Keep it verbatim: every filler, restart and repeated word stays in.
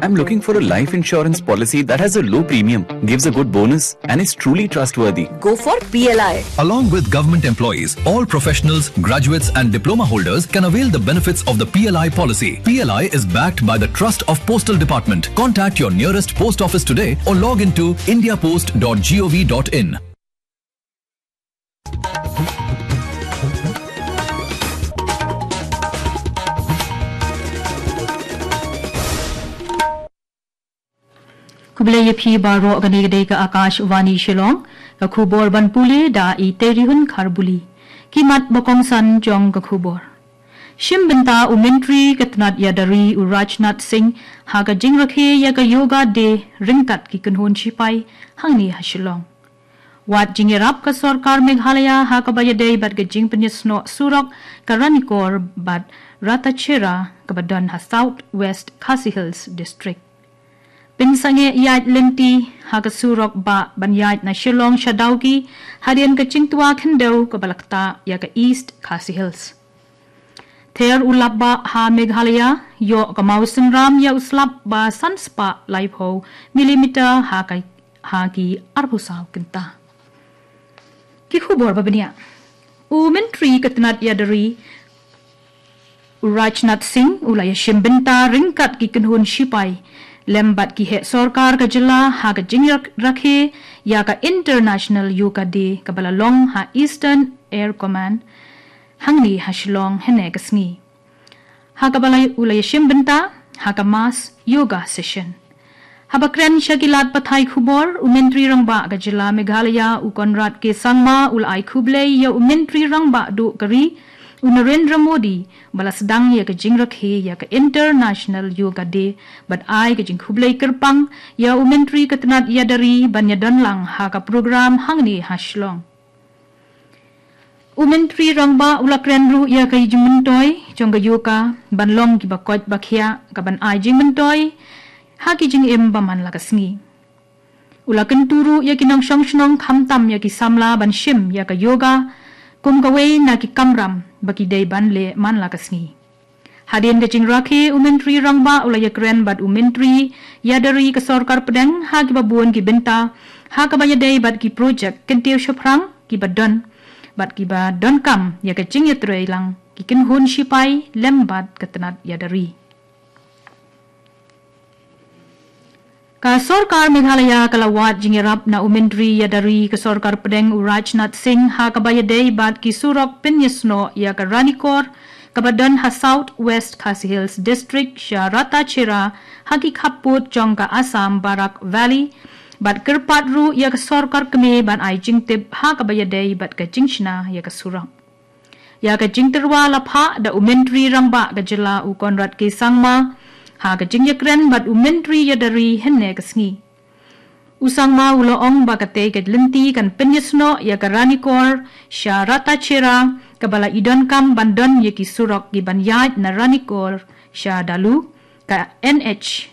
I'm looking for a life insurance policy that has a low premium, gives a good bonus, and is truly trustworthy. Go for P L I. Along with government employees, all professionals, graduates, and diploma holders can avail the benefits of the P L I policy. P L I is backed by the Trust of Postal Department. Contact your nearest post office today or log into indiapost dot gov dot in. Khublei ïa phi baroh, kane ka dei ka Akashvani Shillong, ka khubor ban pule da i Terihun Kharbuli. Ki mat ba kongsan jong ka khubor. Shim bynta u Myntri ka tnat ïada ri u Rajnath Singh ha ka jingrakhe ïa ka Yoga Day ryngkat ki kynhun shipai hangne ha Shillong. Wad jingïarap ka sorkar Meghalaya ha kaba ïadei bad ka jingpynïasnoh surok ka Ranikor bad Ratachera kaba don ha South West Khasi Hills District. Pynsangeh ïaid lynti ha ka surok bah ban ïaid na Shillong sha Dawki hadien ka jingtwa khyndew kaba la ktah ïa ka East Khasi Hills. Ther u lap bah ha Meghalaya, ïoh ka maw synram ïa u slap ba san spah laiphew millimeter ha ka, ha ki arphew saw kynta. Ki khubor ba bniah. U Myntri ka tnat ïada ri u Rajnath Singh u la ïashim bynta ryngkat ki kynhun shipai lem bad ki heh sorkar ka jylla ha ka jingrakhe ïa ka International Yoga Day kaba la long ha Eastern Air Command hangne ha Shillong hynne ka sngi. Ha kaba la u la ïashim bynta ha ka mass yoga session. Haba kren sha ki lad pathai khubor, u Myntri Rangbah ka jylla Meghalaya u Conrad K Sangma u la ai khublei ïa u Myntri Rangbah duh ka ri u Narendra Modi ba la sdang ïa ka jingrakhe ïa ka International Yoga Day bad ai ka jingkhublei kyrpang ïa u Myntri ka tnat ïada ri ban ïadon lang ha ka program hangne ha Shillong. U Myntri Rangbah u la kren ruh ïa ka jingmyntoi jong ka yoga ban long kiba koit ba khiah kaban ai jingmyntoi ha ki jingim ba man la ka sngi. U la kyntu ruh ïa ki nongshong shnong khamtam ïa ki samla ban shim ïa ka yoga kum kawei na ki kamram ba ki dei ban leh man la ka sngi. Hadien ka jingrakhe u Myntri Rangbah u la ïakren bad u Myntri ïada ri ka sorkar pdeng ha kiba bun ki bynta ha kaba ïadei bad ki projek kyntiew shaphrang kiba don bad kiba donkam ïa ka jingïatreilang ki kynhun shipai lem bad ka tnat ïada ri. Ka sorkar Meghalaya ka la wad jingïarap na u Myntri ïada ri ka sorkar pdeng u Rajnath Singh ha kaba ïadei bad ki surok pynïasnoh ïa ka Ranikor kaba don ha South West Khasi Hills District sha Ratachera ha ki khappud jong ka Assam Barak Valley bad kyrpad ruh ïa ka sorkar kmie ban ai jingtip ha kaba ïadei bad ka jingshna ïa ka surok. Ïa ka jingtyrwa la phah da u Myntri Rangbah ka jylla u Conrad K Sangma ha ka jingïakren bad u Myntri ïada ri hynne ka sngi. U Sangma u la ong ba katei ka lynti kan pynïasnoh ïa ka Ranikor sha Ratachera kaba la i donkam ban don ïa ki surok kiban ïaid na Ranikor sha Dalu, ka N H